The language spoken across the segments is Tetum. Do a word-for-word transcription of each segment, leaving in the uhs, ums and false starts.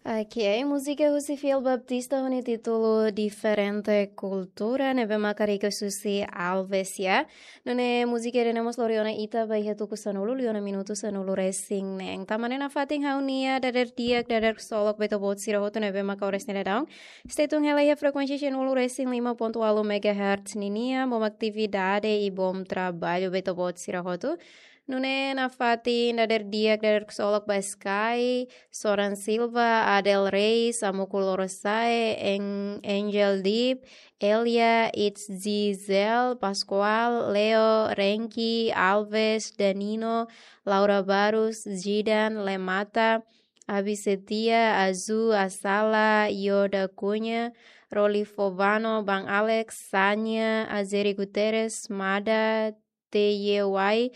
Ok, múzika husi Fiel Baptista ho nia títulu Diferente Kultura, ne'ebé maka request husi Alves, ya. Nune'e múzika ida-ne'e mós lori ona ita ba iha tuku sanulu, liu ona minutu sanulu-resin-neen. Tanba ne'e nafatin ha'u-nia dadeer di'ak, dadeer ksolok ba ita-boot sira hotu ne'ebé maka oras ne'e daudaun stay tune hela iha frekuénsia sanulu-resin-lima pontu ualu megahertz ninian, bom atividade i bom trabalho ba ita-boot sira hotu. Nune'e nafatin dadeer di'ak, dadeer ksolok ba Sky, Soran Silva, Adel Reis, Amuku Lorosa'e, Eng-, Angel Deep, Elia, It's Giselle, Pascoal, Leo, Renki, Alves, Danino, Laura Barros, Zidan, Lemata, Abi Setia, Azu, Asala, Yoda Cunha, Roli Fovano, Bang Alex, Sanya, Azeri Guterres, Mada, T Y Y,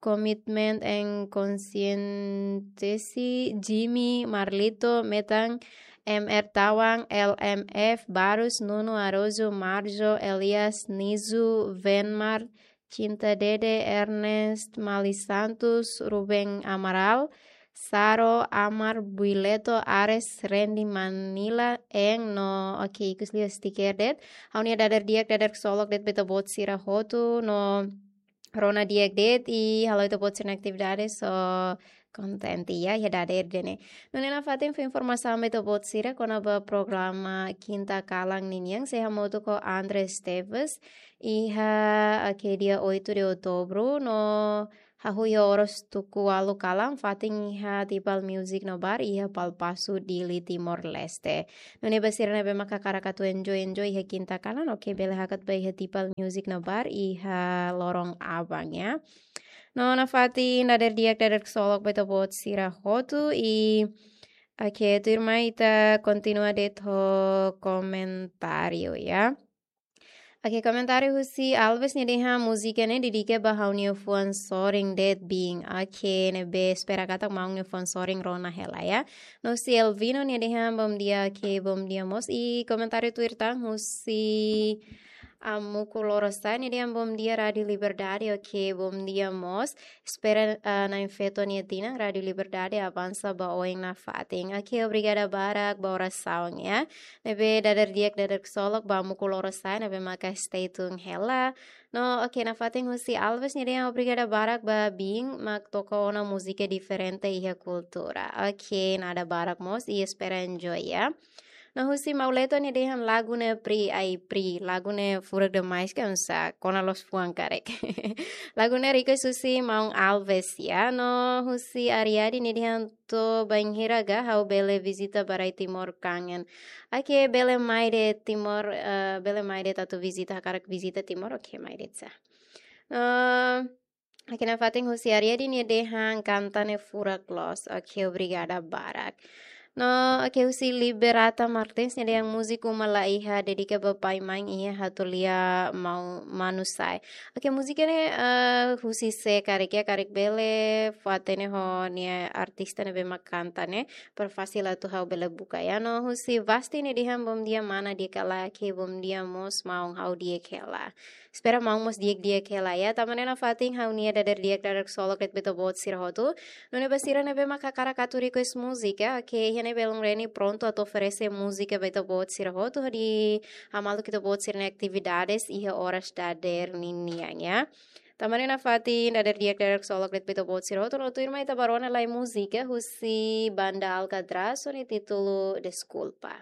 Commitment and Conscientiously, Jimmy, Marlito, Metan, M R Tawang, L M F, Barus, Nuno Araújo, Marjo, Elias, Nizu, Venmar, Cinta Dede, Ernest, Mali Santos, Ruben Amaral, Saro, Amar, Buileto, Ares, Randy, Manila, Eng, no, ok, ikus liu sticker de'it. Ha'u-nia dadeer di'ak, dadeer ksolok de'it ba ita-boot sira hotu, no rona di'ak de'it, i halo ita-boot sira-nia atividade, so kontente, ya, iha dadeer ida-ne'e. Nune'e nafatin fó informasaun ba ita-boot sira kona-ba programa Kinta Kalan ninian, sei hamutuk ho Andre Esteves, iha, ok, dia oito de outubro, no hahú iha oras tuku ualu kalan, fatin iha Tipal Music no Bar, iha Palpasu, Dili, Timor-Leste. Nune'e ba sira ne'ebé maka hakarak atu enjoy, enjoy iha Kinta Kalan, ok, bele hakat ba iha Tipal Music no Bar, iha loron aban, ya. No nafatin dadeer di'ak, dadeer ksolok ba ita-boot sira hotu, i, ok, tuirmai ita kontinua de'it ho komentáriu, ya. Ok, komentáriu husi Alves, nia dehan múzika ne'e dedika ba ha'u-nia fuan sorin de'it, Bin. Ok, ne'ebé espera katak maun nia fuan sorin rona hela, ya. No husi Elvino, nia dehan bom dia, ok, bom dia mós. I komentáriu tuir tan husi Amuku Lorosa'e, nia dehan bom dia Rádio Liberdade, ok, bom dia mós. Espera, ah, na'in-feto nia tinan, Rádio Liberdade avansa ba oin nafatin. Ok, obrigada barak ba orasaun, ya. Ne'ebé dadeer di'ak, dadeer ksolok ba Amuku Lorosa'e, ne'ebé maka stay tune hela. No, ok, nafatin husi Alves, nia dehan obrigada barak ba Bin, mak toka ona múzika diferente iha kultura. Ok, nada barak mós, i espera enjoy, ya. No husi Mauleto, nia dehan lagu ne'e pri, ai pri, lagu ne'e furak demais ka, oinsá, kona loos fuan karik. Lagu ne'e request husi maun Alves, ya. No husi Ariadi, nia dehan to'o bainhira ka ha'u bele vizita ba rai Timor, kangen. Ok, bele mai de'it Timor, eh, bele mai de'it atu vizita, hakarak vizita Timor, ok, mai de'it sá. No, ok, nafatin husi Ariadi, nia dehan kanta ne'e furak loos. Ok, obrigada barak. No, ok, husi Liberata Martins, nia dehan múzika Uma Laiha, dedika ba pai main iha Hatulia, maun Manusai. Ok, múzika ne'e, eh, husi sé karik, ya, karik bele fó-hatene ho nia artista ne'ebé mak kanta ne'e, para fasil atu ha'u bele buka, ya. No husi Vasti, nia dehan bom dia mana, di'ak ka lae, ok, bom dia mós maun, ha'u di'ak hela. Espera maun mós di'ak-di'ak hela, ya. Tanba ne'e nafatin ha'u-nia dadeer di'ak, dadeer ksolok de'it ba ita-boot sira hotu. Nune'e ba sira ne'ebé maka hakarak atu request múzika, ok, iha ne'e belun Reni prontu atu oferese múzika ba ita-boot sira hotu, hodi hamaluk ita-boot sira-nia atividades iha oras dadeer ninian, ya. Tanba ne'e nafatin dadeer di'ak, dadeer ksolok de'it ba ita-boot sira hotu, no tuirmai ita bá rona lai múzika husi Banda Alcatraz, ho nia títulu Deskulpa.